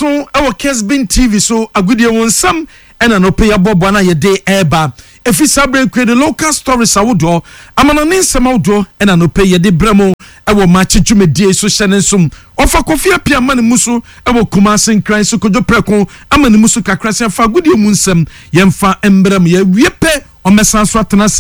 Nso wɔ Kesbin TV so agodie ho nsɛm ɛna anɔpa yi aboaboa no a yɛde ɛreba. Ɛfiri saa berɛ yi kɔ yɛde local stories ahodoɔ, amanɔne nsɛm ahodoɔ ɛna anɔpa yi yɛde brɛ mo ɛwɔ Makye dwumadie yi so. Hyɛ ne nso ɔfa Kofi Appiah ama ne mu so ɛwɔ Kumasi, Nkran so Kojo Prɛko ama ne mu so kakra sɛ fa agodie mu nsɛm yɛmfa mbrɛ mo. Yɛwie pɛ ɔmmɛsan so atena ase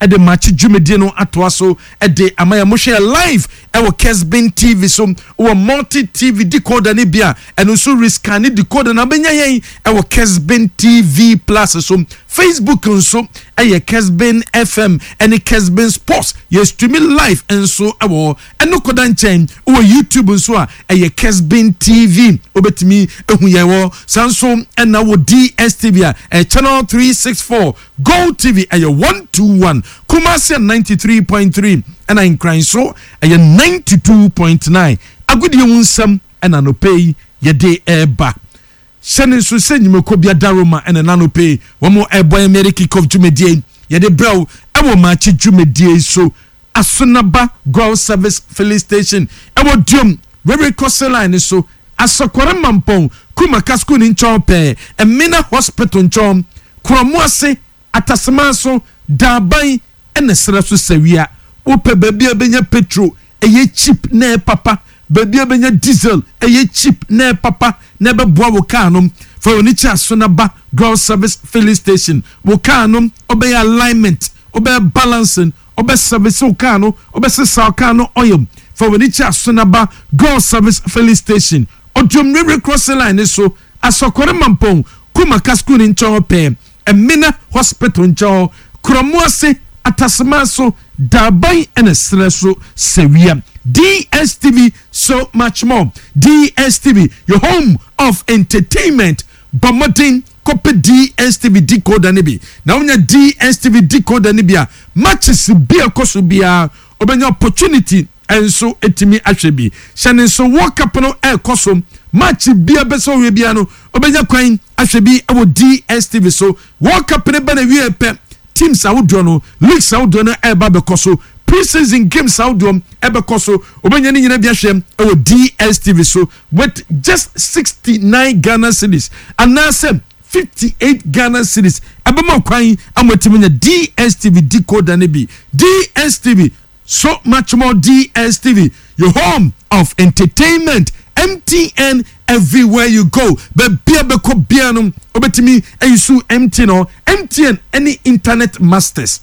de Makye dwumadie no atoa so de ama yɛn. Mohwɛ yɛn live wɔ Kesbin TV so wɔ Multi TV decoder no bi a, ɛno nso rescan ne decoder na wobɛnya yɛn wɔ Kesbin TV Plus so. Facebook nso yɛ Kesbin FM ne Kesbin Sports. Yɛ stream live nso wɔ hɔ. Ɛno kɔda nkyɛn wɔ YouTube nso a ɛyɛ Kesbin TV. Wobɛtumi ahu yɛn wɔ saa nso ɛna wɔ DSTV a ɛyɛ channel 364, Gold TV ɛyɛ 121, Kumasi 93.3 ɛna Nkran nso ɛyɛ 92.9. Agodie ho nsɛm ɛna anɔpa yi yɛde ɛreba. Hyɛ ne nso sɛ nnwumakuo bi adaroma ɛna n'anɔpa yi wɔn ɛrebɔ yɛn Mary Kickoff dwumadie yɛde brɛw ɛwɔ Maakye dwumadie so. Asonaba Goil Service Filling Station ɛwɔ Duom Railway Crossing Line so, Asɔkɔre Mampɔn, Kumaka School ne nkyɛn pɛɛ, Emina Hospital nkyɛn, Kurɔmo ase, Atasema so, Daaban ɛna serɛ so sawia. Wopɛ baabi a bɛnya petrol ɛyɛ cheap na ɛyɛ papa, baabi a bɛnya diesel ɛyɛ cheap na ɛyɛ papa na ɛbɛboa wo kaa no, fa w'ani kyɛ Asonaba Goil Service Filling Station. Wo kaa no ɔbɛyɛ alignment, ɔbɛyɛ balancing, ɔbɛ service wo kaa no, ɔbɛsesa wo kaa no oil. Fa w'ani kyɛ Asonaba Goil Service Filling Station, Oduom Railway Crossing Line ne so, Asɔkɔre Mampɔn, Kumaka School ne nkyɛn hɔ pɛɛ, Emina Hospital nkyɛn hɔ, Kurɔmo ase, Atasema so, Daaban ɛna serɛ so sawia. DSTV, so much more. DSTV, your home of entertainment. Bɔ mmɔden kɔpɛ DSTV decoder no bi na wonya DSTV decoder no bi a, matches bi a ɛkɔ so biara wobɛnya opportunity nso ɛtumi ahwɛ bi. Hyɛ ne nso World Cup no ɛrekɔ so, match bi a bɛsɛ ɔhwɛ biara no wobɛnya kwan ahwɛ bi wɔ DSTV so. World Cup no ba na wie pɛ, teams ahodoɔ no, leagues ahodoɔ no ɛreba bɛkɔ so, pre-season games ahodoɔ ɛbɛkɔ so, wobɛnya ne nyina bi ahwɛ ɛwɔ DSTV so with just 69 Ghana cedis anaasɛ 58 Ghana cedis. Ɛbɛma kwan ama atumi nya DSTV decoder no bi. DSTV, so much more. DSTV, your home of entertainment. MTN, everywhere you go. Baabi a bɛkɔ bia no wobɛtumi ayi MTN no. MTN ɛne internet masters.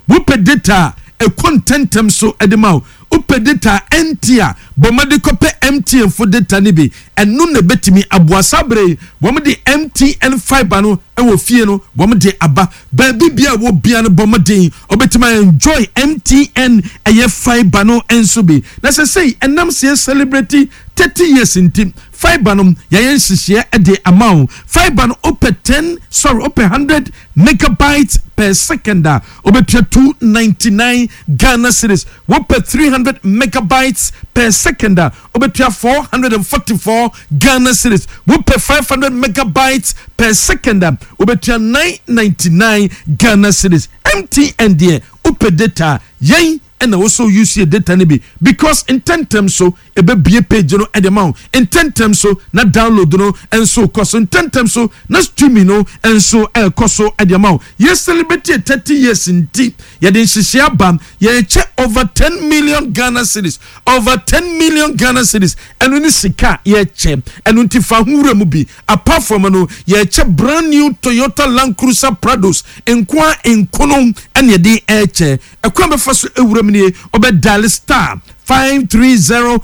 Wopɛ data a ɛkɔ ntɛntɛm so ɛde ma wo, wopɛ data ɛnti a bɔmmɔde kɔpɛ MTN fo data no bi. Ɛno na ɛbɛtumi aboa. Saa bere yi wɔn de MTN fibre no ɛwɔ fie no, wɔn de aba baabi bia a wɔ bia no, bɔmmɔden ɔbɛtumi enjoy MTN ɛyɛ fibre no nso bi. Na sɛ sɛyi ɛnam sɛ celebrate 30 years nti, fibre no yɛyɛ nhyehyɛeɛ de ama wo. Fibre no, wopɛ 10, sorry, wopɛ 100 megabytes per second a, wobɛtua 299 Ghana cedis. Wopɛ 300 megabytes per second a, wobɛtua 444 Ghana cedis. Wopɛ 500 megabytes per second a, wobɛtua 999 Ghana cedis. MTN deɛ, wopɛ data yɛn ɛna wɔsɔ use yɛ data no bi because ntɛntɛm so ɛbɛbie page no ɛde ma wo ntɛntɛm so, na download no nso kɔ so ntɛntɛm so, na streaming no nso ɛrekɔ so ɛde ma wo. Yɛ celebrate 30 years nti yɛde nhyehyɛ aba, yɛrekyɛ over 10 million Ghana cedis, over 10 million Ghana cedis. Ɛno ne sika yɛrekyɛ. Ɛno nti fa ho wura mu bi. Apart from no, yɛrekyɛ brand new Toyota Land Cruiser Prados nkoa nkono ɛne yɛde ɛrekyɛ. Ɛkwan bɛfa so ewura mu nie: ɔbɛ dial *530#,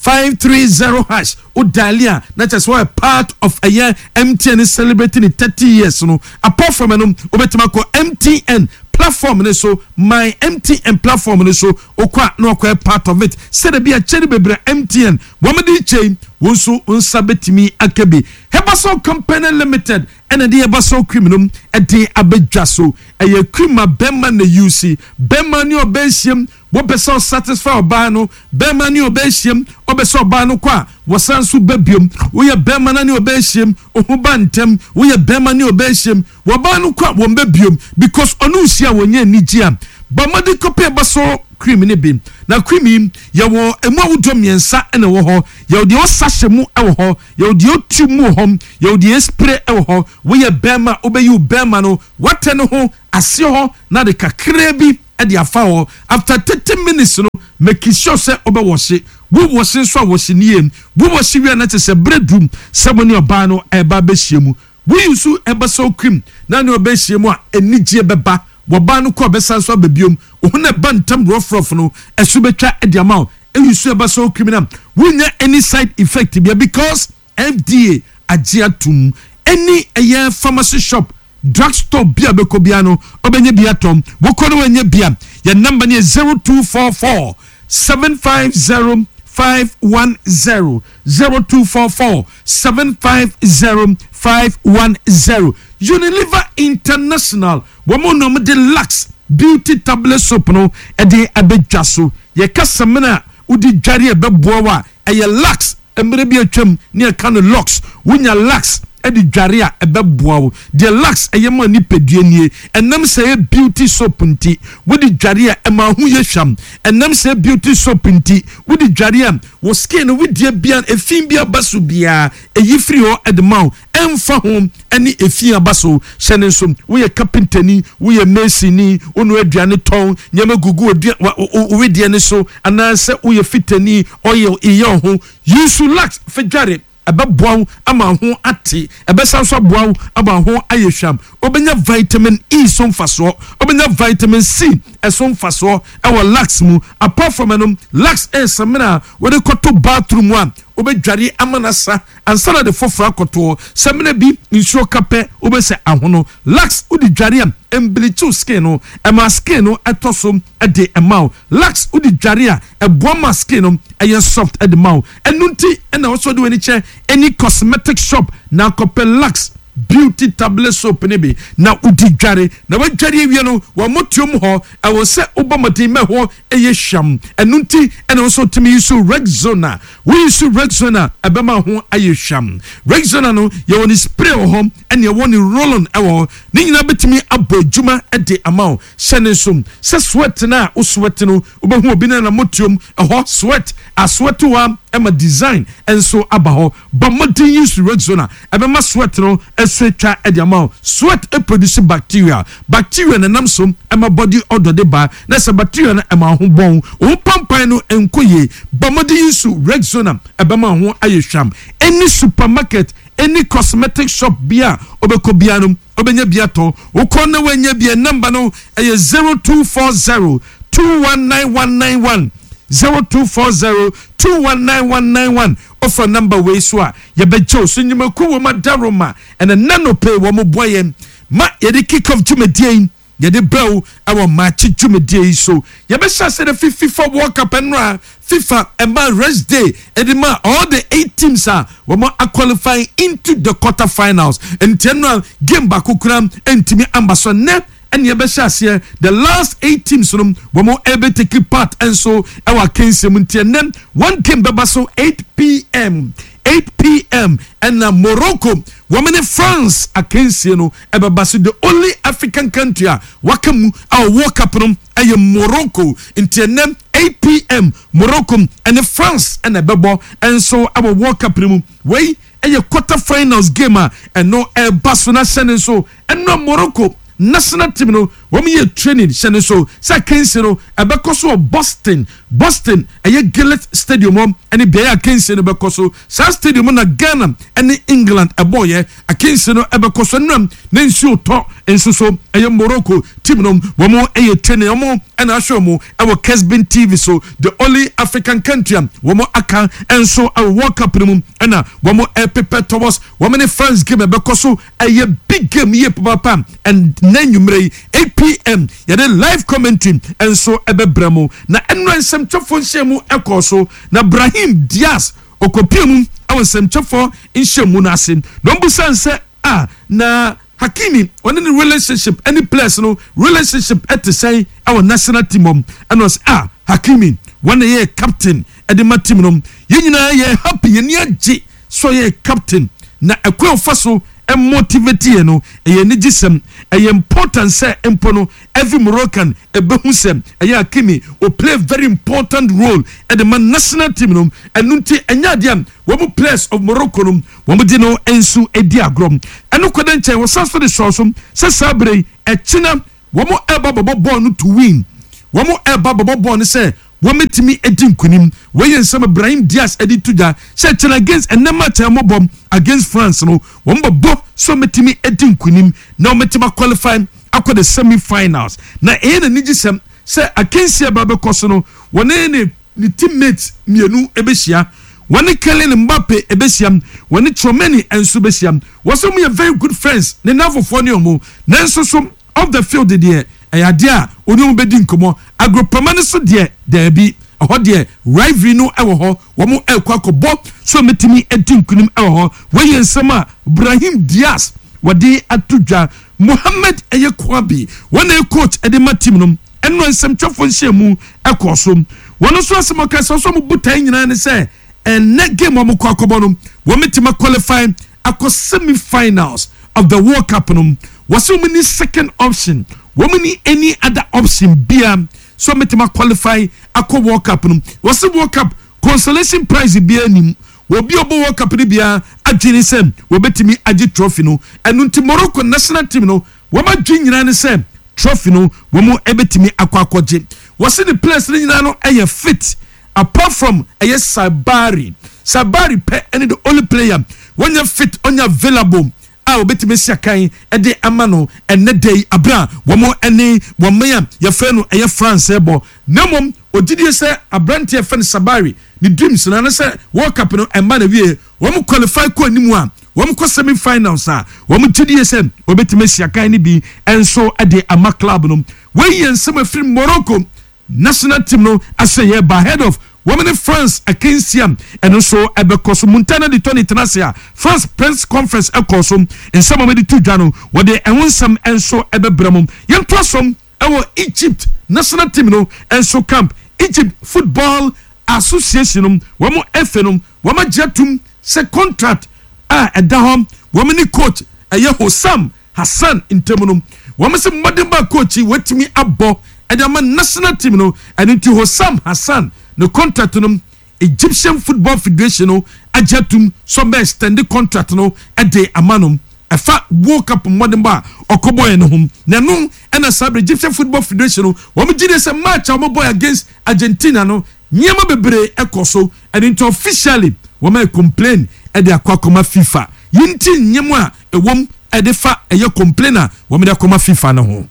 *530#. O dial a, na kyerɛ sɛ wɔyɛ part of ɛyɛ MTN celebrating 30 years no. Apart from ɛno, wobɛtumi akɔ MTN platform ne so, My MTN platform ne so. Okɔ a na wakɔyɛ part of it sɛdeɛ bi akyɛ no bebree MTN wɔn de kyɛn wɔn nso nsa bɛtumi aka bi. Hebasol Company Limited ɛna de Hebasol cream no ɛde abɛdwa so. Ɛyɛ cream a bɛrima na use, bɛrima ne ɔbɛ ahyiam, wɔpɛ sɛ ɔsatisfy ɔbaa no, bɛrima ne ɔbɛ ahyiam, ɔbɛ sɛ ɔbaa no kɔ a wɔsan so bɛ biom. Woyɛ bɛrima na ne ɔbɛ ahyiam, ɔho ba ntɛm. Woyɛ bɛrima ne ɔbɛ ahyiam, wɔbaa no kɔ a wɔn bɛ biom because ɔno nhyia a wɔnyɛ anigye a. Bɔ mmɔden kɔpɛ ɛbɛsɔ cream no bi. Na cream yi, yɛwɔ ɛmu ahodoɔ mmiɛnsa na ɛwɔ hɔ. Yɛwɔ deɛ wɔsa hyɛ mu wɔ hɔ, yɛwɔ deɛ wɔtu mu wɔ hɔ, yɛwɔ deɛ yɛspray wɔ hɔ. Woyɛ bɛrima a, wobɛyi wo bɛrima no watɛ no ho aseɛ hɔ na de kakraa bi de afa hɔ. After 30 minutes no, make sure sɛ wobɛwɔhye. Wo wɔhye nso a, wɔhye no yie. Wo wɔhye wie a, na kyerɛ sɛ berɛ duru sɛ mo ne ɔbaa no reba abɛhyia mu. Wo use ɛbɛsɔ cream na ne ɔbɛhyia mu a, anigyeɛ bɛba. Wɔbaa no kɔ a, ɔbɛsan nso aba biom. Wo ho na ɛba ntam rɔfrɔf no, ɛso bɛtwa de ama wo. Use ɛbɛsɔ cream no a, wonnya any side effect bia because FDA agye atom. Any ɛyɛ pharmacy shop, drug store bi a wobɛkɔ biara no, wobɛnya bi atɔ. Wokɔ na woannya bi a, yɛn number no yɛ 0244 750 510, 0244 750 510. Unilever International, wɔn na wɔde Lux Beauty Tablet Soap no de abɛdwa so. Yɛka samina a wode dware a ɛbɛboa wo a, ɛyɛ Lux. Mmerɛ bi atwam ne yɛka no locks, wonya lux de dware a ɛbɛboa wo. Deɛ lux yɛ ma nipadua nie, ɛnam sɛ ɛyɛ beauty soap nti, wode dware a ɛma ho yɛ hwam. Ɛnam sɛ ɛyɛ beauty soap nti, wode dware a wo skin no wedeɛ biara, efi bi aba so biara, ɛyi firi hɔ de ma wo. Ɛmfa ho ne efi a aba so, hyɛ no nso, woyɛ kapentani, woyɛ masonni, wonoa aduane tɔn, nneɛma gugu wo wedeɛ no so, anaasɛ woyɛ fitani, oil yɛ wo ho, use lux fa dware, ɛbɛboa wo ama wo ho ate, ɛbɛsan nso aboa wo ama wo ho ayɛ hwam. Wobɛnya vitamin E so mfasoɔ, wobɛnya vitamin C so mfasoɔ wɔ lux mu. Apart from ɛno, lux yɛ samina a wode kɔto bathroom a wobɛdware ama no asa ansa na de foforɔ akɔtoɔ. Samina bi nsuo ka pɛ wobɛsɛ ahono. Lux wode dware a ɛmbleachi wo skin no, ɛma skin no ɛtɔ so de ma wo. Lux wode dware a ɛboa ma skin no ɛyɛ soft de ma wo. Ɛno nti na ɛwɔ sɛ wode w'ani kyerɛ any cosmetic shop na akɔpɛ Lux beauty tablet soap no bi na wode dware. Na woadware awie no, w'amotuom hɔ ɛwɔ sɛ wobɔ mmɔden ma ɛhɔ yɛ hwam. Ɛno nti na ɛwɔ sɛ wotumi use Rexona. Wo use Rexona a, ɛbɛma ho ayɛ hwam. Rexona no, yɛwɔ ne spray wɔ hɔ, ɛna yɛwɔ ne roll-on wɔ hɔ. Ne nyinaa bɛtumi abɔ adwuma de ama wo. Hyɛ no nso sɛ sweat no a wo sweat no, wobɛhu obi no anammɔtuom ɛhɔ sweat asweat hɔ ara ma design nso aba hɔ. Bɔ mmɔden use Rexona, ɛbɛma sweat no so atwa de ama wo. Sweat produce bacteria. Bacteria na ɛnam so ma body odour de ba, na sɛ bacteria no ɛma wo ho bɔn, wo ho pampan no nkɔ yie. Bɔ mmɔden use Rexona, ɛbɛma wo ho ayɛ hwam. Any supermarket, any cosmetic shop biara a wobɛkɔ biara no, wobɛnya bi atɔ. Wokɔ na woannya bi a, number no ɛyɛ 0240 219191, 0240 219191. Wofa number wei so a, yɛbɛgye wo so. Nnwumakuo wɔ mu adaworoma, ɛna nnɛ anɔpa yi wɔboa yɛn ma yɛde kick off dwumadie yi yɛde brɛ wo wɔ Maakye dwumadie yi so. Yɛbɛhyɛ ase de fi FIFA World Cup nnora FIFA ɛma rest day ɛde ma all the eight teams a wɔn aqualify into the quarter finals. Nti nnora game baako koraa ntumi amba so. Nnɛ ɛne yɛbɛhyɛ aseɛ the last eight teams no wɔn ɛbɛ take part nso ɛwɔ akansie mu. Nti ɛnnɛ one game bɛba so 8 pm, 8 pm ɛna Morocco wɔn ne France akansie no ɛbɛba so. The only African country a waka mu a World Cup no ɛyɛ Morocco. Nti ɛnɛ 8 pm Morocco ɛne France ɛna ɛbɛbɔ ɛnso ɛwɔ World Cup no mu. Wei ɛyɛ quarter finals game a ɛno ɛba so. Na hyɛ ne nso, ɛno Morocco national team no wɔn yɛ training. Hyɛ ne nso sɛ akansie no ɛbɛkɔ so wɔ Boston. Boston ɛyɛ Gillette Stadium hɔ ɛne beaeɛ akansie no bɛkɔ so. Saa stadium na Ghana ɛne England ɛbɔɔyɛ. Akansie no ɛbɛkɔ so nnam ne nsuo tɔ nso so. Ɛyɛ Morocco team no wɔn ɛyɛ training, wɔn ɛna ahwɛ wɔn ɛwɔ Kesbin TV so. The only African country a wɔn aka nso ɛwɔ World Cup no mu ɛna wɔn ɛprepare towards wɔn ne France game ɛbɛkɔ so. Ɛyɛ big game yie papaapa. Ɛnna nnwummerɛ yi 8 pm yɛde live commentary nso ɛbɛbrɛ mu. Na ɛnura nsɛmtwerɛfoɔ nhyɛn mu ɛkɔɔ so na Brahim Diaz okopie mu ɛwɔ nsɛmtwerɛfoɔ nhyɛn mu no ase na ɔmbusa nsɛ a na Hakimi ɔne ne relationship ɛne players no relationship ɛte sɛn ɛwɔ national team hɔ. Ɛna ɔsɛ a Hakimi wɔn na yɛ captain ɛde ma team no, yɛn nyinaa yɛ happy, yɛn ni agye sɛ ɔyɛ captain na ɛkwan ɔfa so. Motivate yɛ no ɛyɛ anigyesɛm. Ɛyɛ important sɛ mpo no every Moroccan ɛbɛhu sɛ ɛyɛ Hakimi o play very important role ɛde ma national team no. Ɛno nti ɛnyɛ adeɛ a wɔn players of Morocco no wɔn de no nso di agorɔ. Ɛno kɔda nkyɛn, wɔsan so de sɔɔ so sɛ saa berɛ yi ɛkyena wɔn ɛreba bɛbɔ bɔɔl no to win. Wɔn ɛreba bɛbɔ bɔɔl no sɛ wɔbɛtumi adi nkunim. Wei yɛ nsɛm a Brahim Diaz de to dwa sɛ kyena against ɛnnɛ match a wɔbɔ against France no, wɔbɛbɔ sɛ wɔbɛtumi adi nkunim na wɔbɛtumi aqualify akɔ the semi finals. Na ɛyɛ n'anigyesɛm sɛ akansie a ɛba bɛkɔ so no, wɔne ne ne teammates mmienu bɛhyia. Wɔne Kylian Mbappe bɛhyia, wɔne Tchouameni nso bɛhyia. Wɔsɛ wɔyɛ very good friends, ne nnamfofoɔ ne wɔn. Nanso so off the field deɛ, ɛyɛ adeɛ a ɔne wɔn bɛdi nkɔmmɔ. Agorɔprama no so deɛ, daabi. Ɛhɔ deɛ, rivalry no wɔ hɔ. Wɔn rekɔ akɔbɔ sɛ wɔbɛtumi adi nkunim wɔ hɔ. Wei yɛ nsɛm a Brahim Diaz wɔde ato dwa. Mohamed ɛyɛ Kouabi, wɔn na ɛyɛ coach de ma team no. Ɛno nsɛmtwerɛfoɔ nhyiamu kɔɔ so. Wɔn nso asɛm a wɔka sɛ wɔn botaeɛ nyinaa ne sɛ ɛnnɛ game a wɔkɔ akɔbɔ no, wɔbɛtumi aqualify akɔ semi finals of the World Cup no. Wɔsɛ wɔn ni second option, wɔn ni any other option bia sɛ wɔbɛtumi aqualify akɔ World Cup no. Wɔsɛ World Cup consolation prize bia nim. Obi a ɔbɔ World Cup no biara adwene sɛ wɔbɛtumi agye trophy no. Ɛno nti Morocco national team no wɔn adwene nyinaa ne sɛ trophy no wɔn bɛtumi akɔ akɔgye. Wɔse ne players no nyinaa no yɛ fit apart from ɛyɛ Saibari. Saibari pɛ ɛne the only player wɔnyɛ fit, ɔnyɛ available a wɔbɛtumi asi akan de ama no ɛnnɛ da yi abere a wɔn ne wɔn man a yɛfrɛ no ɛyɛ France rebɔ. Na mmom ogyidie sɛ aberanteɛ yɛfrɛ no Saibari ne dreams no anasɛ World Cup no ɛmma na wie wɔn qualify kɔ anim a wɔn kɔ semi finals a wɔn gyidie sɛ wɔbɛtumi asi akan no bi nso de ama club no. Wei yɛ nsɛm afiri Morocco national team no asɛyɛ ba ahead of wɔn ne France akansi a ɛno nso ɛbɛkɔ so. Montana de Tony tena ase a France press conference ɛkɔɔ so, nsɛm a wɔde to dwa no wɔde ɛho nsɛm nso ɛbɛbrɛ mo. Yɛntoa so ɛwɔ Egypt national team no nso camp. Egypt Football Association no, wɔn FA no, wɔn agye atum sɛ contract a ɛda hɔ wɔn ne coach ɛyɛ Hossam Hassan ntam no, wɔn sɛ mmɔdenbɔ a coach yi wɔatumi abɔ ɛde ama national team no, ɛno nti Hossam Hassan ne contract no Egyptian Football Federation no agye atum sɛ ɔbɛ extend contract no de ama no ɛfa World Cup mmɔdenbɔ a ɔkɔbɔeɛ no ho. Na ɛno ɛna saa berɛ Egyptian Football Federation no wɔn gye die sɛ match a wɔbɔeɛ against Argentina no nneɛma bebree ɛkɔ so, ɛno nti officially wɔn ayɛ complain ɛde akɔ akɔma FIFA. Yi nti nneɛma a ɛwom ɛde fa ɛyɛ complain a wɔn de akɔma FIFA no ho.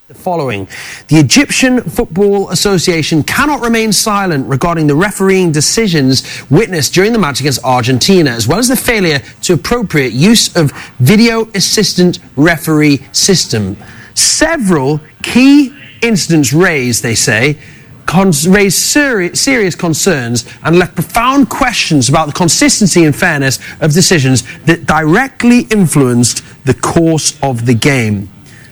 The following. The Egyptian Football Association cannot remain silent regarding the refereeing decisions witnessed during the match against Argentina, as well as the failure to appropriate use of video assistant referee system. Several key incidents raised, they say, raised serious concerns and left profound questions about the consistency and fairness of decisions that directly influenced the course of the game.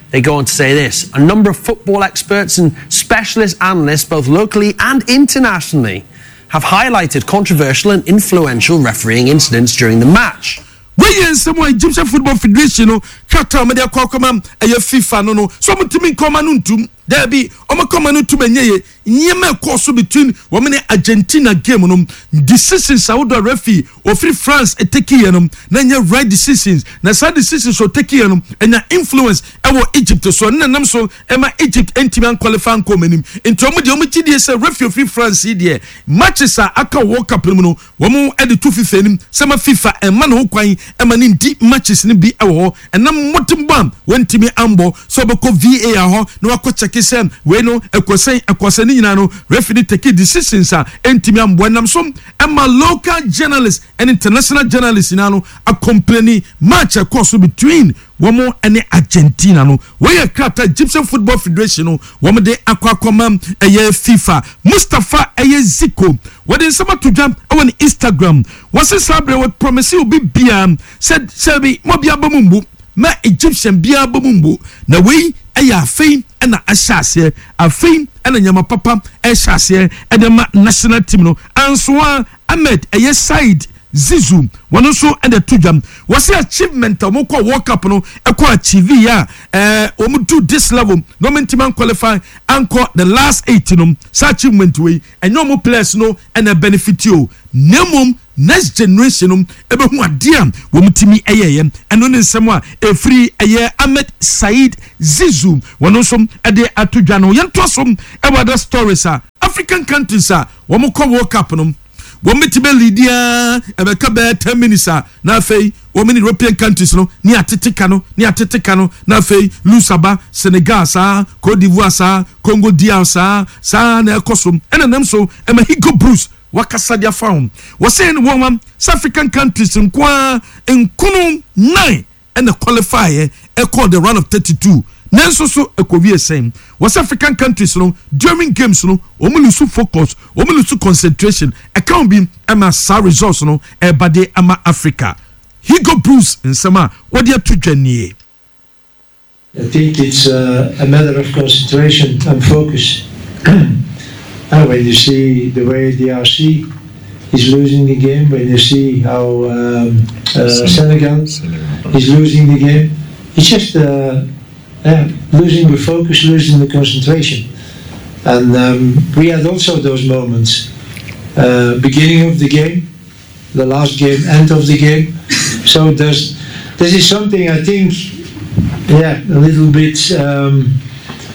They go on to say this: a number of football experts and specialist analysts, both locally and internationally, have highlighted controversial and influential refereeing incidents during the match. Wei yɛ nsɛm a Egyptian Football Federation no krataa a wɔde akɔ akɔma ɛyɛ FIFA no no so wɔntumi nka wɔn ano ntum. Daabi, wɔka wɔn ano ntum ɛnyɛ yie. Nneɛma ɛkɔɔ so between wɔn ne Argentina game no, decisions ahodoɔ a referee ofiri France takeeɛ no, na ɛnyɛ right decisions. Na saa decisions a ɔtakeeɛ no, ɛnya influence ɛwɔ Egypt so. Ɛno na ɛnam so ɛma Egypt ntumi anqualify ankɔ wɔn anim. Nti wɔn deɛ wɔn gye die sɛ referee ofiri France yi deɛ, matches a aka wɔ World Cup no mu no, Wɔn de to FIFA anim sɛ ma FIFA mma ne ho kwan ma no ndi matches no bi wɔ hɔ ɛnam mmɔdenbɔ a wantumi ambɔ sɛ ɔbɛkɔ VAR hɔ na wakɔ kyɛke sɛ wei no ɛkɔ sɛn ɛkɔ sɛn ne nyinaa no referee no take decisions a ɛntumi amboa ɛnam so ma local journalists ne international journalists nyinaa no acomplaini match a ɛkɔɔ so between wɔn ne Argentina no. Wei yɛ krataa Egyptian Football Federation no wɔn de akɔ akɔma ɛyɛ FIFA. Mustafa ɛyɛ Zico wɔde nsɛm ato dwa ɛwɔ ne Instagram. Wɔse saa berɛ wɔ promise obi biara sɛ sɛ mo biara bɔ mu mbu ma Egyptian biara bɔ mu mbu na wei ɛyɛ afei ɛna ahyɛ aseɛ, afei ɛna nneɛma papa ɛhyɛ aseɛ ɛde ma national team no. Ansoa Ahmed ɛyɛ Said. Zizou, wɔn nso de to dwam. Wɔsi achievement a wɔn kɔ World Cup no ɛkɔ achieve yɛ a wɔn do this level na wɔn ntumi anqualify ankɔ the last eight no, saa achievement wei ɛnyɛ wɔn players no ɛna benefit o, na mmom next generation no ɛbɛhu adeɛ a wɔn tumi ɛyɛyɛ. Ɛno ne nsɛm a ɛfiri ɛyɛ Ahmed Said Zizou, wɔn nso ɛde ato dwa no. Yɛntoa so ɛwɔ other stories a African countries a wɔn kɔ World Cup no, wɔn bɛtumi alead a ɛbɛka bɛyɛ 10 minutes a, na afei wɔn ne European countries no ne atete ka no, ne atete ka no, na afei lose aba. Senegal saa, Cote d'Ivoire saa, Congo DR saa saa na ɛkɔ so. Ɛna nam so ɛma Hugo Broos wakasa de afa ho. Wɔsɛn no wɔn wa sɛ African countries nkoa nkono nine ɛna qualify yɛ ɛkɔ the round of 32, nanso so ɛkɔwie sɛn? Wɔsɛ African countries no, during games no, wɔn lose focus, wɔn lose concentration. Ɛka ho bi ɛma saa results no ɛba de ama Africa. Hugo Broos nsɛm a wɔde ato dwa nie. I think it's a matter of concentration and focus. And when you see the way DRC is losing the game, when you see how Senegal is losing the game, it's just yeah, losing the focus, losing the concentration. And we had also those moments. Beginning of the game, the last game, end of the game. So this is something I think, yeah, a little bit,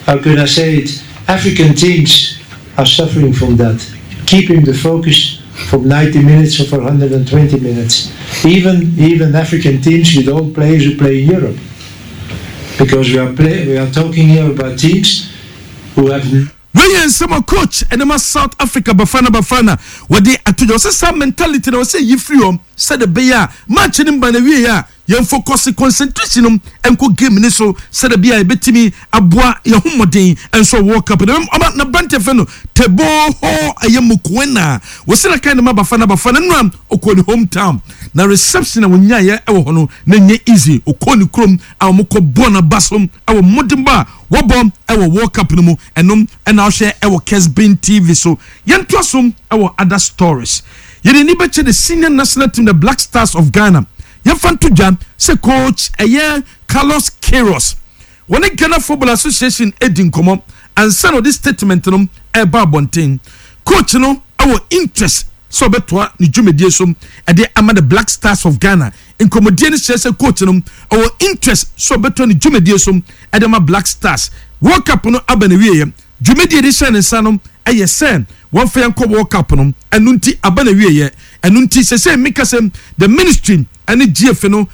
how can I say it? African teams are suffering from that. Keeping the focus from 90 minutes or for 120 minutes. Even African teams with all players who play in Europe. Because we are talking here about teams who have Weyɛ nsɛm a coach ɛde ma South Africa, Bafana Bafana, wɔde ato dwa. Wɔsɛ saa mentality na wɔsɛ yi firi hɔ sɛde bɛyɛ a match no mba na wie a, yɛn focus, concentration no nkɔ game ne so sɛde bɛyɛ a yɛbɛtumi aboa yɛn ho mmɔden nso World Cup no. Ɔma n'aberanteɛ fɛ no Teboho ɛyɛ Mokoena, wɔsɛ na kan ne ma Bafana Bafana no a ɔkɔ ne hometown na reception a wɔnyaeɛ ɛwɔ hɔ no na nyɛ easy. Ɔkɔ ne kurom a wɔkɔ bɔ n'aba so ɛwɔ mmɔdenbɔ a wɔbɔ ɛwɔ World Cup no mu. Ɛnom ɛna ɔhwɛ ɛwɔ Kesbin TV so. Yɛntoa so ɛwɔ other stories. Yɛde ni bɛkyɛ the senior national team, the Black Stars of Ghana. Yɛmfa nto dwa sɛ coach ɛyɛ Carlos Queiroz, wɔne Ghana Football Association edi nkɔmɔ ansa na ɔde statement no ɛreba abɔnten. Coach no ɛwɔ interest sɛ ɔbɛtoa ne dwumadie so ɛde ama the Black Stars of Ghana. Nkɔmɔdie no kyerɛ sɛ coach no ɛwɔ interest sɛ ɔbɛtoa ne dwumadie so ɛde ama Black Stars. World Cup no aba na wieɛ, dwumadie de hyɛ ne nsa no ɛyɛ sɛ wɔmfa yɛn kɔ World Cup no. Ɛno nti aba na wieɛ. Ɛno nti sɛ meka sɛ the ministry ɛne GFA no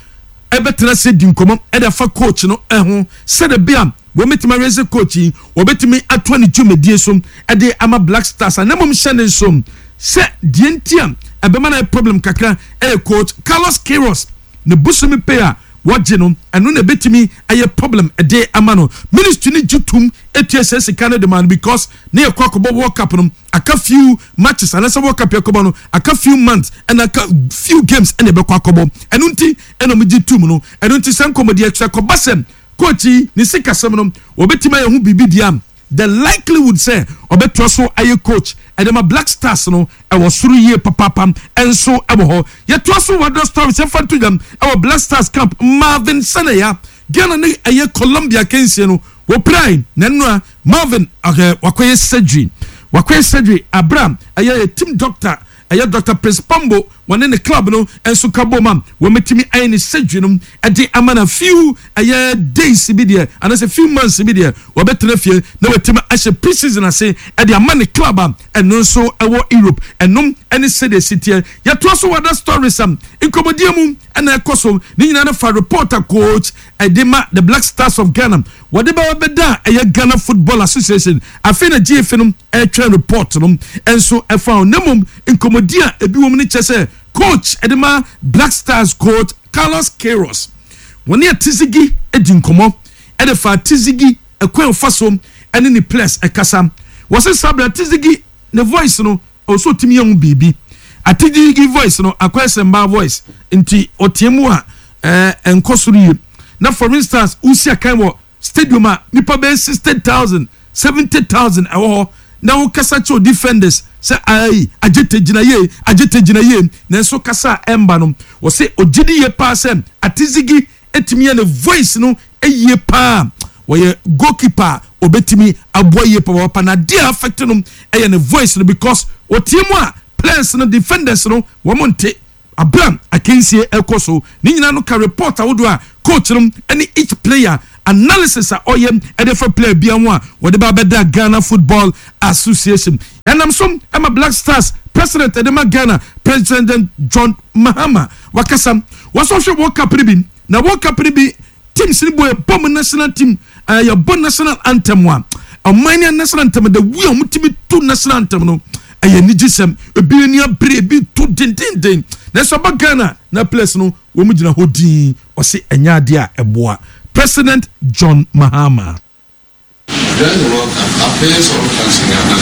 ɛbɛtena se di nkɔmɔ ɛde afa coach no ɛho sɛde bi a wɔbɛtumi awɛsɛ coach yi wɔbɛtumi atoa ne dwumadie so ɛde ama Black Stars. A na mmom hyɛ ne nso sɛ deɛ nti a ɛbɛma no ayɛ problem kakra ɛyɛ coach Carlos Queiroz ne bosomi pay a wɔgye no. Ɛno na ɛbɛtumi ayɛ problem ɛde ama no. Ministry no gye tum etua sɛ sika no de ma no because ne yɛ kɔ akɔbɔ World Cup no, aka few matches, anaasɛ World Cup yɛ kɔbɔ no, aka few months ɛna aka few games ɛna ɛbɛkɔ akɔbɔ. Ɛno nti ɛna ɔmo gye tum no. Ɛno nti sɛ nkɔmɔdi ɛkyerɛ kɔba sɛ coach yi ne sikasɛm no wɔbɛtumi ayɛ ho biribi deɛ a, the likelihood sɛ ɔbɛtoa so ayɛ coach ɛde ma Black Stars no ɛwɔ soro yie papaapa. Ɛnso ɛwɔ hɔ. Yɛtoa so wɔ other stories. Yɛmfa nto dwam ɛwɔ Black Stars camp, Marvin Senaya, Ghana ne ɛyɛ Colombia kensie no wɔpirae na nnura Marvin ɔhɛ wakɔyɛ surgery abira ɛyɛ team doctor, ɛyɛ Dr Prince Pambo, wɔne ne club no nso ka bom a wɔmɛtumi ayɛ ne surgery no ɛde ama na few ɛyɛ days bi deɛ anaasɛ few months bi deɛ, wɔbɛtena fie na wɔatumi ahyɛ pre-season ase ɛde ama ne club a ɛno nso ɛwɔ Europe. Ɛnom ɛne sɛdeɛ si teɛ. Yɛtoa so wɔ other stories a nkɔmmɔdie mu ɛna ɛkɔ so ne nyinaa no fa reporter coach ɛde ma the Black Stars of Ghana wɔde bɛwɔ bɛda a ɛyɛ Ghana Football Association. Afei na GFA no ɛretwɛn report no ɛnso ɛfa ho. Na mmom nkɔmmɔdi a ebi wɔ mu no kyɛ sɛ coach ɛde ma Black Stars, coach Carlos Queiroz, wɔne Atizigi di nkɔmmɔ ɛde fa Atizigi ɛkwan fa so ɛne ne players ɛkasa. Wɔsɛ sabra Atizigi ne voice no ɔsɛ otumi yɛ ho biribi. Atizigi voice no akɔyɛ sɛ mbaa voice nti ɔteɛ mu a ɛnkɔ soro yie. Na for instance, wosi akan wɔ stadium a nipa bɛyɛ 60,000, 70,000 ɛwɔ hɔ na wokasa kyerɛ defenders. sɛ ayi Adjetey gyina yie, Adjetey gyina yie, nanso kasa a ɛmba no, wɔse ɔgye di yie paa sɛ Atizigi tumi yɛ ne voice no yie paa, wɔyɛ goalkeeper a ɔbɛtumi aboa yie papaapa, na adeɛ a affect no yɛ ne voice no because ɔteɛ mu a players no, defenders no wɔn nte. Abere a akansie rekɔ so ne nyinaa no ka report ahodoɔ a coach no ne each player analysis a ɔyɛ de fa player biara ho a wɔde ba abɛda Ghana Football Association. Ɛnam so ma Black Stars president de ma Ghana, President John Mahama wakasa. Wɔsɔ hwɛ World Cup no bi na World Cup no bi teams no bɔ yɛbɔ mu national team eh, yɛbɔ national anthem a ɔman ne national anthem the way a wɔtumi to national anthem no ɛyɛ anigyesɛm. Ebi ani abere, ebi to dendenden, nanso aba Ghana na players no wɔn gyina hɔ dinn. Ɔse ɛnyɛ adeɛ a ɛboa. President John Mahama. During the World Cup, our players all dance in Ghana.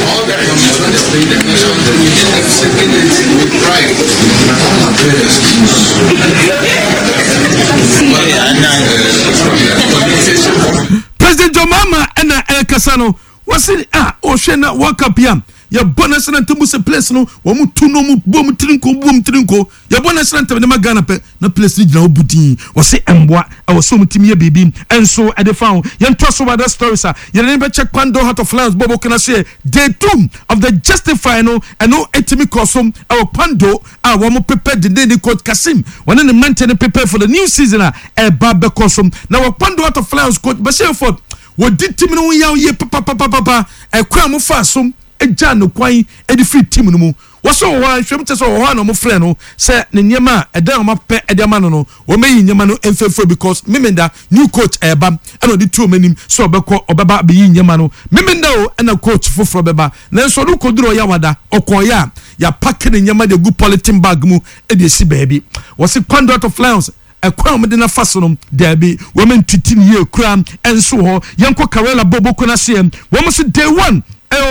All the countries when they play the national anthem, you hear them singing it with pride. But all our players lose. But, uh, President John Mahama ɛna ɛrekasa no. Wɔse ah ɔhwɛ na World Cup yi a yɛbɔ national anthem mu sɛ players no wɔn tu no wɔn bɔ wɔn tiri nko bɔ wɔn tiri nko yɛbɔ national anthem de ma Ghana pɛ na players no gyina hɔ bu din. Wɔse ɛmboa, ɛwɔ sɛ wɔn tumi yɛ biribi nso de fa ho. Yɛntoa so wɔ other stories a yɛde ne bɛkyɛ Kwando Heart of Lions bɔ bɔkɔ no ase yɛ day 2 of the Justify no ɛno ɛtumi kɔɔ so ɛwɔ Kwando a wɔn prepare dendenden. Coach Kassim wɔne ne mmeranteɛ no prepare for the new season a ɛreba bɛkɔ so na wɔ Kwando Heart of Lions coach Bashir Ford Wɔdi team no ho yaw yie papapapapa. Ɛkwan a wɔfaa so gyaa no kwan de firii team no mu. Wɔsɛ wɔ hɔ ara, nhwɛmu kyerɛ sɛ wɔ hɔ ara na wɔfrɛɛ no sɛ ne nneɛma a ɛdan a wɔapɛ de ama no no, wɔmmɛyi nneɛma no mfimfini because Memenda new coach ɛreba ɛna ɔde too wɔn anim sɛ ɔbɛkɔ ɔbɛba abɛyi nneɛma no. Memenda o ɛna coach foforɔ bɛba. Nanso ɔno kɔduru Ɔyawada, ɔkɔeɛ a yɛapake ne nneɛma de agu polythene bag mu de asi baabi. Wɔse Kwando of Lions Ɛkwan a wɔde no afa so no, daabi, wɔantwiti no yie koraa nso wɔ hɔ. Yɛnkɔ Karela Boboko no aseɛ. Wɔn nso day one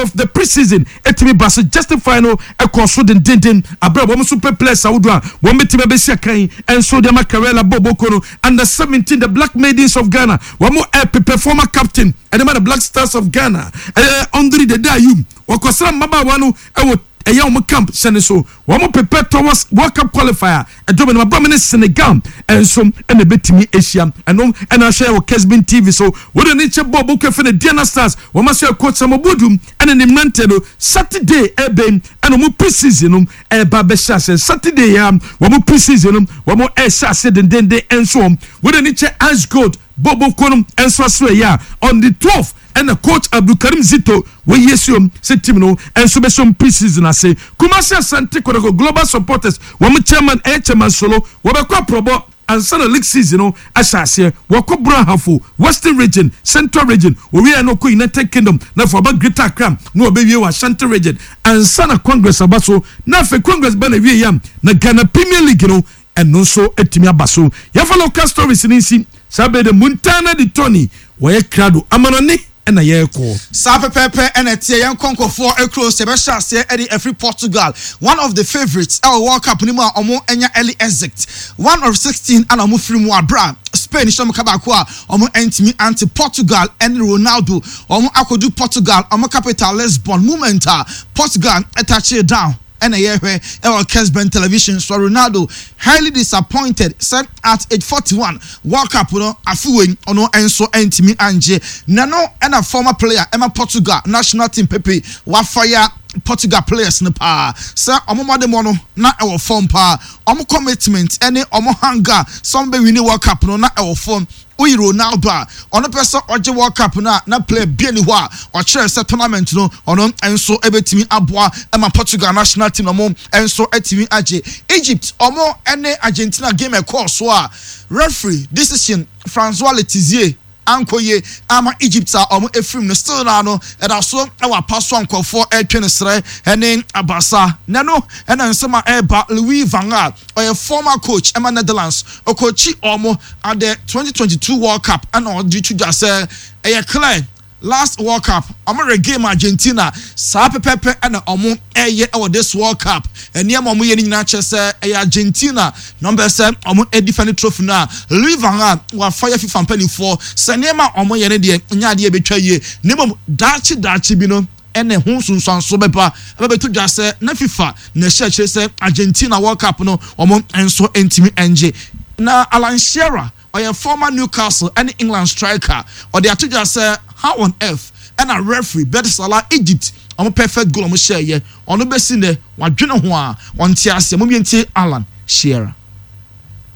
of the pre-season ɛtumi ba so justify no ɛkɔɔ so dendenden abere a wɔn nso pɛ players ahodoɔ a wɔn bɛtumi abɛsi akan nso de ama Karela Boboko no. Under 17 the Black Maidens of Ghana wɔn ɛpepɛ former captain ɛde ma the Black Stars of Ghana ɛyɛ Andre Dede Ayew wɔkɔsra mmabaawa no ɛwɔ ɛyɛ wɔn camp hyɛ ne so. Wɔn prepare towards World Cup qualifier ɛdɔm no abam ne Senegal nso ɛna ɛbɛtumi ahyia. Ɛno ɛna ahwɛ wɔ Kesbin TV so. Wɔde ne nkyɛ bɔɔl bɔkɔ efe ne Diana Stars wɔn ahyɛ coach Sam Obudu ɛne ne mmeranteɛ no Saturday ɛbɛn ɛna wɔn pre-season no ɛreba bɛhyɛ aseɛ Saturday ya wɔn pre-season no wɔn ɛrehyɛ aseɛ dendenden nso wɔn wɔde ne kyɛ Ice Gold bɔɔl bɔkɔ no nso aso ɛyɛ a on the 12 ɛna coach Abdulkarim Zito wɔyi asiom sɛ team no nso bɛsom pre-season ase. Kumasi Asante Kotoko Global Supporters wɔn chairman ɛyɛ Chairman Solo wɔbɛkɔ aprɔbɔ ansa na league season no ahyɛ aseɛ. Wɔkɔ Brong Ahafo, Western Region, Central Region, wɔwieɛ no wɔkɔ United Kingdom na afei wɔaba Greater Accra na wɔbɛwie wɔ Ashanti Region ansa na Congress aba so na afei Congress ba na wieɛ a na Ghana Premier League no ɛno nso atumi aba so. Yɛmfa local stories no nsi saa bere de Montana de Tony wɔyɛ krado amanɔne na yɛrekɔ. Saa pɛpɛɛpɛ na ɛteɛ, yɛnkɔ nkurɔfoɔ kuro so, yɛbɛhyɛ aseɛ de afiri Portugal, one of the favourites ɛwɔ World Cup no mu a wɔn anya early exit, one of 16 ɛna wɔn firi mu aberɛ a Spain hyɛ wɔn ka baako a wɔn antumi ante. Portugal ɛne Ronaldo wɔn akɔdu Portugal wɔn capital Lisbon, moment a Portugal touchee down ɛna yɛhwɛ ɛwɔ Kesben television so. Ronaldo highly disappointed sɛ at age 41 World Cup no afe wei ɔno nso antumi angye. Na no ɛna former player ɛma Portugal national team Pepe wafire Portugal players no paa sɛ ɔmo mmɔdemmɔ no na ɛwɔ fam paa, ɔmo commitment ɛne ɔmo hunger sɛ ɔmo bɛ win World Cup no na ɛwɔ fam. Woyi Ronaldo a ɔno pɛ sɛ ɔgye World Cup no a, na player bia ni hɔ a ɔkyerɛ sɛ tournament no ɔno nso bɛtumi aboa ma Portugal national team na ɔmo nso atumi agye. Egypt ɔmo ne Argentina game ɛkɔɔ so a referee decision Francois Letexier ankɔ yie ama Egypt a ɔmo efirim no, still naa no ɛda so ɛwɔ apa so a nkurɔfoɔ ɛretwe no serɛ ɛne abasa. Na ɛno ɛna nsɛm a ɛreba Louis van Gaal ɔyɛ former coach ɛma Netherlands, ɔkɔkyi ɔmo at the 2022 World Cup ɛna ɔde to dwa sɛ ɛyɛ clear last World Cup ɔmo regame Argentina saa pɛpɛpɛ ɛna ɔmo ɛyɛ ɛwɔ this World Cup. Nneɛma ɔmo yɛ no nyinaa kyerɛ sɛ ɛyɛ Argentina na ɔmo bɛ sɛ ɔmo defend trophy no a Louis van Gaal wafa yɛ FIFA mpanimfoɔ sɛ nneɛma a ɔmo yɛ no deɛ nyɛ adeɛ ebetwa yie na mmom daakye daakye bi no. Ɛna ɛho nsunsuanso bɛba ɛbɛbɛto dwa sɛ na FIFA na ɛhyɛ akyire sɛ Argentina World Cup no wɔn nso ntumi ngye. Na Alan Shearer, ɔyɛ former Newcastle ɛne England striker, ɔde ato dwa sɛ how on earth ɛna referee Bert Salah Egypt wɔn perfect goal a wɔn hyɛɛyɛ, ɔno bɛsi nnɛ wadwene ho a ɔnte aseɛ. Mom yɛntie Alan Shearer.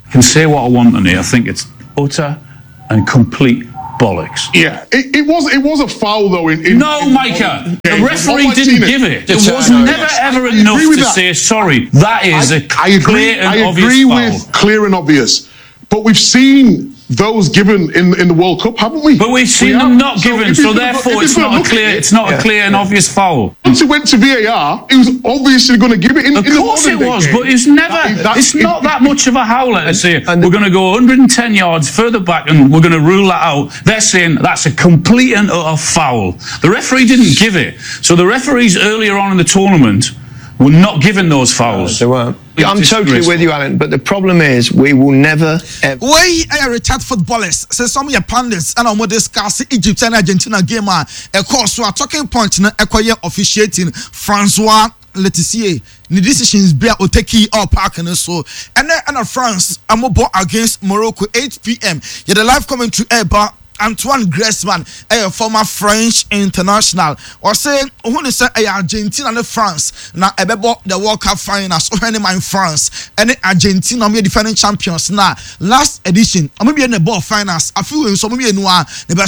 I can say what I want on it. I think it's utter and complete bollocks. Yeah, it was a foul though. In No, in Micah, the game. referee Oh, I've didn't seen give it. It It's, was never ever I enough agree with to that. say sorry. That is a I agree. clear and I obvious agree foul. with clear and obvious, but we've seen those given in the World Cup, haven't we? But we've seen We them have. not So given, if so he's gonna therefore if it's he's gonna not a look at clear, it- it's not a clear and obvious foul. Once it went to VAR, he was obviously going to give it. Of In the course it modern day was, game. but it's never, it's not that much of a howler to say we're going to go 110 yards further back and we're going to rule that out. They're saying that's a complete and utter foul. The referee didn't give it. So the referees earlier on in the tournament were not given those fouls. They weren't. I'm It's totally disgraceful. with you, Alan, but the problem is we will never, ever. Wei ɛyɛ retired footballers sɛ some yɛ pundits ɛna wɔn discuss Egypt ɛne Argentina game a ɛkɔɔ so a talking point no ɛkɔyɛ officiating, Francois Letissier ne decisions bi a ɔtake all park no so. Ɛnɛ ɛna France ɛmobɔ against Morocco, 8 p.m. Yɛde live commentary ɛɛba. Antoine Griezmann ɛyɛ former French international. Ɔsɛ ohun ne sɛ ɛyɛ Argentina ne France na ɛbɛbɔ the World Cup finals. Ɔhwɛ ne man France ɛne Argentina, wɔn yɛ defending champions na last edition wɔn mmienu na ɛbɔɔ finals. Afi wei nso wɔn mmienu a na ɛbɛ